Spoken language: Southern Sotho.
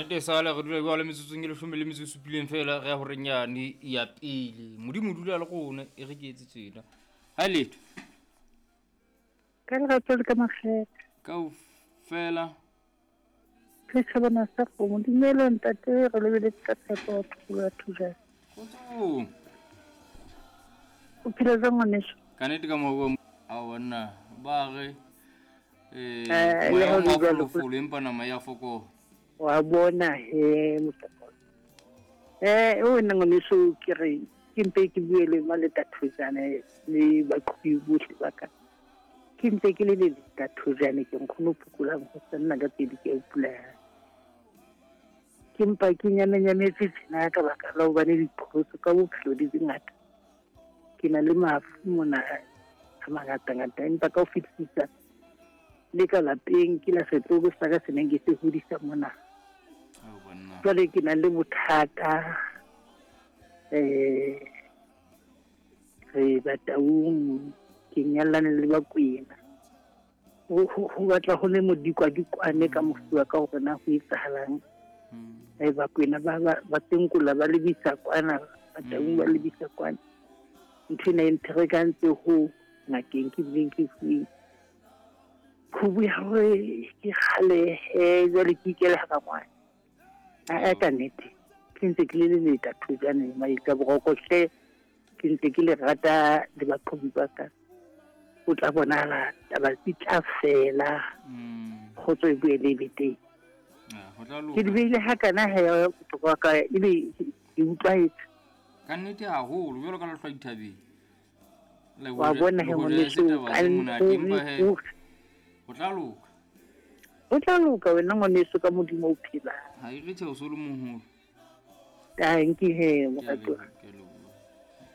nnete sale re dula jwale metsotsong e leshome le metso e supileng fela re ya horeng yane ya pele. Modimo o dula le rona e re ke etse tsena. Ha letho. Ka lerato le ka makgethe. Kaofela. Re thabana sa kgomo. Dumela ntate, re lebeletse ka tshepo wa pholo ya Thujane. Kgotsong. O phela jwang ngwaneso? Ka nnete ka mo a banna ba re eh Eh, le moya ha o ho le jwalo, mafolofolo empa nama ya fokola. Wa bona he motlakone. Eh, wena ngwaneso ke re ke mpe ke bue le maleta Thujane le baqhobi bohle ba ka. Ke mpe ke le leleta Thujane ke nkgono phokolang ho sa nna ka pedi ke a pula. Ke mpa ke nyamenyametse tjena ka baka la hobane diqholotso ka bophelo di di ngata. Ke na le mafu mona a mangatangata empa ka ho fetisisa le ka lapeng ke la setloholo sa ka se neng ke se hodisa mona. Ao banna. Jwale ke na le bothata re Bataung ke nyallane le Bakwena. Ho batla ho le modikwadikwane ka mofu wa ka hore na ho etsahalang. Bakwena ba tenkola ba lebisa kwana, Bataung ba lebisa kwana. Ntho ena e mpherekantse ho ngakeng ke bileng ke fuweng khubu ya hore ke kgalehe jwale ke ikele hara ngwana. A ka nnete ke ntse ke le leleta Thujane maetsa boroko hle ke ntse ke le rata le baqhobi ba ka. O tla bonahala taba di tla fela kgotso e boele e be teng. Ho tla Ke di loka. beile hakana he bohlokwa ka ebe ke utlwahetse. Ka nnete haholo jwalo ka lehlwa dithabeng. Le Wa bona he le hoja e se ngwaneso taba ka tse monate empa he hore ho tla loka. o tla loka wena ngwaneso ka Modimo o phelang. Ha e re tjhe o so le moholo. Tanki he Ke a moratuwa. leboha.